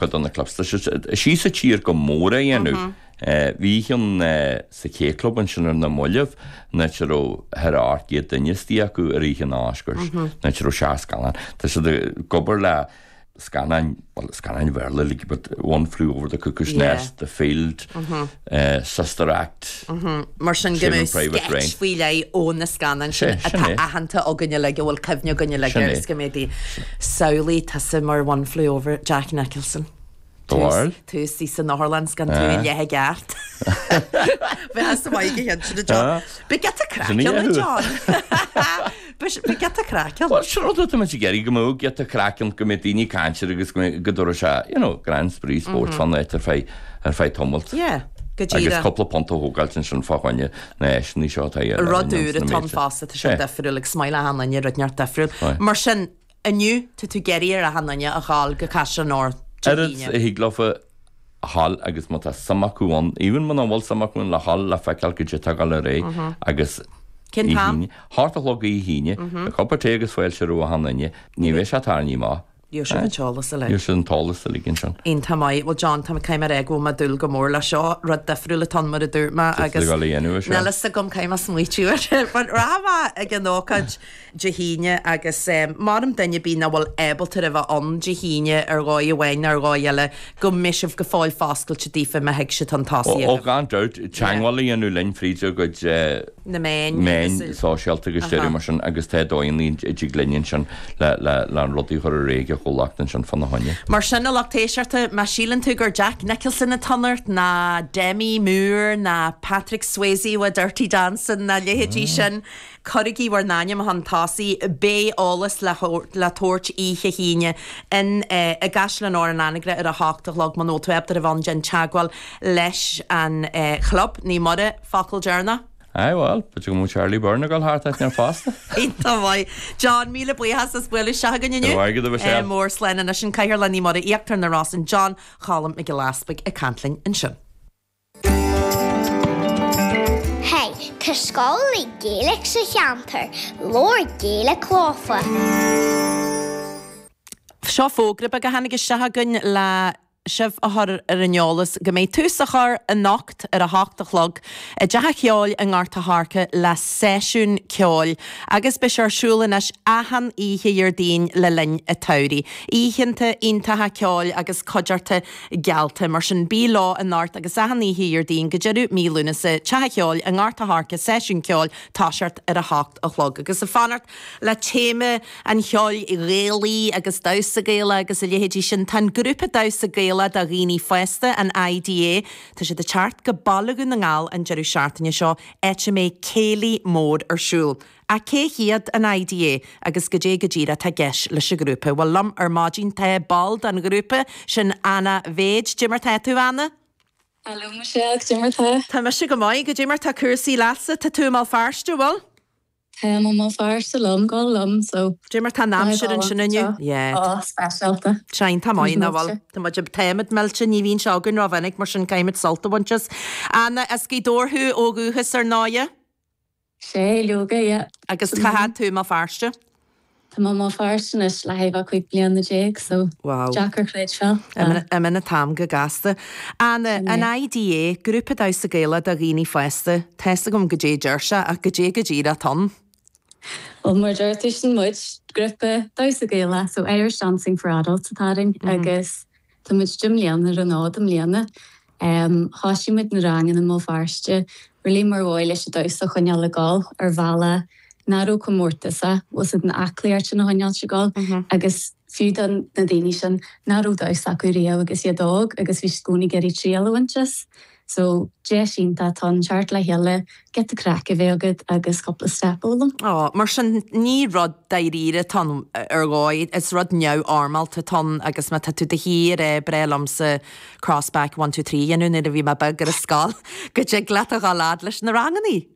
Cuid de na clubs, tá siad síos sa tír go mór á dhéanamh. Bhí ceann sa K Club ansin ar na mallaibh, an áit a raibh thar 800 duine istigh acu ar oíche an Oscars, an áit a raibh 7 scannán. Tá siad ag obair le scannáin, bhuel, scannáin Bhéarla uilig, but One Flew Over the Cuckoo's Nest, The Field, Sister Act, Mar sin go Saving mbeadh Private Ryan. sketch faoi leith ó na scannáin sin Sé, sin atá é. aitheanta againn uilig, a bhfuil cuimhne againn uilig Sin air é. is go mbeidh Samhlaigh tusa mar One Flew Over Jack Nicholson. Do bharúil? Tú istigh san otharlann 's gan tú i leith i gceart. Bheadh sa mhaith go hinsint a John. Bheadh giota craic Sin í ann, a thú. John. Bheadh giota craic ann. Bhuel, sin rud atá muid ag iarraidh, go mbeadh giota craic ann, go mbeadh daoine ag caint air agus go mbeadh, go dtabharfadh sé, you know, grand spraoi spóirt fán áit ar feadh, ar feadh tamaill. Yeah, go Agus díreach. cúpla punt a thógáilt ansin fá choinne na háiseanna seo atá ar Rud úr atá ann fosta, tá sé difriúil agus is maith le achan duine rud inteacht difriúil. Right. Mar sin, inniu, tá tú ag iarraidh ar achan duine a ghabháil go Caisleán Óir Dé Oiread hAoine. a thig leofa a ghabháil agus má tá suim acu ann, even muna bhfuil suim acu ann, le ghabháil le feiceáil goidé atá ag dul ar aghaidh agus Cén Oíche t-am? hAoine, hocht a chlog Oíche hAoine, beidh cupa tae agus fáilte roimh achan duine, ní bheidh sé tarraingthe amach. Gheobhaidh sibh an t-eolas uilig. Gheobhaidh sibh an t-eolas uilig ansin. Iontach maith. Bhuel John, tá mé caithfidh mé a rá go bhfuil mé ag dúil go mór leis seo. Rud difriúil atá ann mar a dúirt mé Tá agus tú ag dul a dhéanamh é seo. níl fhios agam caithfidh mé smaoitiú air. But rachaidh mé ag an ócáid Dé hAoine agus mh'anam duine ar bith nach bhfuil ábalta a bheith ann Dé hAoine ar dhóigh amháin nó ar dhóigh eile go mbeidh sibh go fóill foscailte daofa má thig siad chun tosaigh Ó agaibh. gan dabht, teagmháil a dhéanamh linn fríd ár gcuid Na meáin meáin agus. sóisialta agus deireadh mar sin agus tá dóigheanna a dtig linn ansin le le le an rudaí a chur ar aghaidh ag an chomhlacht ansin fána choinne. Mar sin, a lucht éisteachta, má síleann tú gur Jack Nicholson atá ort, ná Demi Moore, ná Patrick Swayze ó Dirty Dancing, ná leithéidí sin, Cuirigí bhur n-ainm chun tosaigh. Beidh eolas le le tabhairt oíche hAoine in i gCaisleán Óir an Anagaire ar a hocht a chlog. Muna bhfuil tú ábalta a bheith ann déan teagmháil leis an chlub. Naomh Muire, focal deireanach? Aye bhuel, b'fhéidir go mbeadh Charlie Byrne ag dul thart áit inteacht fosta. Iontach maith. John, míle buíochas as bualadh isteach againn inniu. Go raibh maith agat, a Mhichelle. Mór slán anois an Cathaoirleach Naomh Muire Íochtar na Rosann, John Cholm Mac Giolla Easpaig ag caint linn ansin. Hey, tá scoil le Gaeilge sa cheantar, labhair Gaeilge leofa. Seo fógra beag a tháinig isteach againn le sibh a chur ar an eolas go mbeidh tús á chur anocht ar a hocht a chlog i dTeach an Cheoil i nGort a' Choirce le seisiún ceoil agus beidh sé ar siúl anois achan oíche Dhéardaoin le linn an tsamhraidh. Oícheanta iontacha ceoil agus cuideachta geallta. Mar sin, bí leo anocht agus achan oíche Dhéardaoin go deireadh mí Lúnasa, Teach an Cheoil i nGort a' Choirce, seisiún ceoil, toiseacht ar a hocht a chlog. Agus ag fanacht le téama an cheoil Ghaelaigh agus damhsa Gaelach agus a leithéidí sin, tá an grúpa damhsa Gaelach do dhaoine fásta, an IDA, tá siad ag teacht go Baile Dhún na nGall an deireadh seachtaine seo, áit a mbeidh céilí mór ar siúl. Ach cé hiad an IDA agus goidé go díreach atá i gceist leis an ghrúpa? Bhuel, liom ar maidin tá ball den ghrúpa, sin Anna Bheid. Goidé mar tá tú, Anna? Hello Michelle, goidé mar tá? Tá mise go maith. Goidé mar tá cúrsaí leatsa? Tá tú i mBéal Feirste, bhfuil? Táim i mBéal Feirste liom, go liom, so. Goidé mar tá an aimsir ansin inniu? Yeah. Ó, speisialta. Tá iontach maith, nach bhfuil? Tá muid, táimid millte, ní bhíonn sé againn rómhinic, mar sin caithfimid sult a bhaint as. Anna, as Gaoth Dobhair thú ó dhúchas ar ndóighe? Sea, leoga, yeah. Agus cá fhad tú i mBéal Feirste? Tá mé i mBéal Feirste anois le haghaidh 15 bliana, so Wow. deacair creidbheáil. Imíonn an t-am go gasta. Anna, an IDA, Grúpa Damhsa Gaelach do Dhaoine Fásta, tá fhios agam goidé a deir sé ach goidé go díreach atá ann? Bhuel, mar a deir tú, sin muid, grúpa damhsa Gaelach, so Irish Dancing for Adults atá orainn agus Tá muid 10 mbliana ar an fhód i mbliana. Thoisigh muid na ranganna i mBéal Feirste really mar dhóigh leis an damhsa a choinneáil ag dul ar bhealach nach raibh comórtasach, bhfuil fhios agat an aclaíocht sin a choinneáilt ag dul agus fiú do na daoine sin nach raibh damhsa acu riamh agus iad óg agus bhí siad i gcónaí ag iarraidh triail a bhaint as. So, deis iontach atá ann teacht le chéile, giota craic a bheith agat agus cúpla step a fhoghlaim. Ó, mar sin, ní rud dáiríre atá ann ar dhóigh, is rud neamhfhoirmeálta atá ann agus má tá tú de shíor ag rá ba bhreá liomsa cross back one two three a dhéanamh nuair a bhí mé beag ar an scoil, go dtig leat a dhul fhad leis na rangannaí.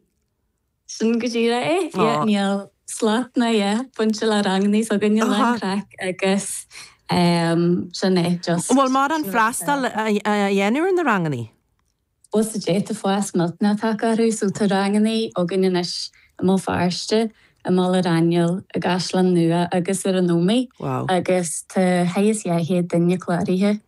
Sin go díreach é, yeah, níl slat ná yeah bainte le rangannaí s'againne lán craic agus sin é, just. An bhfuil mórán freastal á dhéanamh ar na rangannaí? Bhuel sa dé tá fás millteanach tagtha orthu so tá rangannaí againn anois i mBéal Feirste, i mBaile Raghnaill, i gCaisleán Nua agus ar an Ómaigh Wow. agus tá thar is 200 duine cláraithe.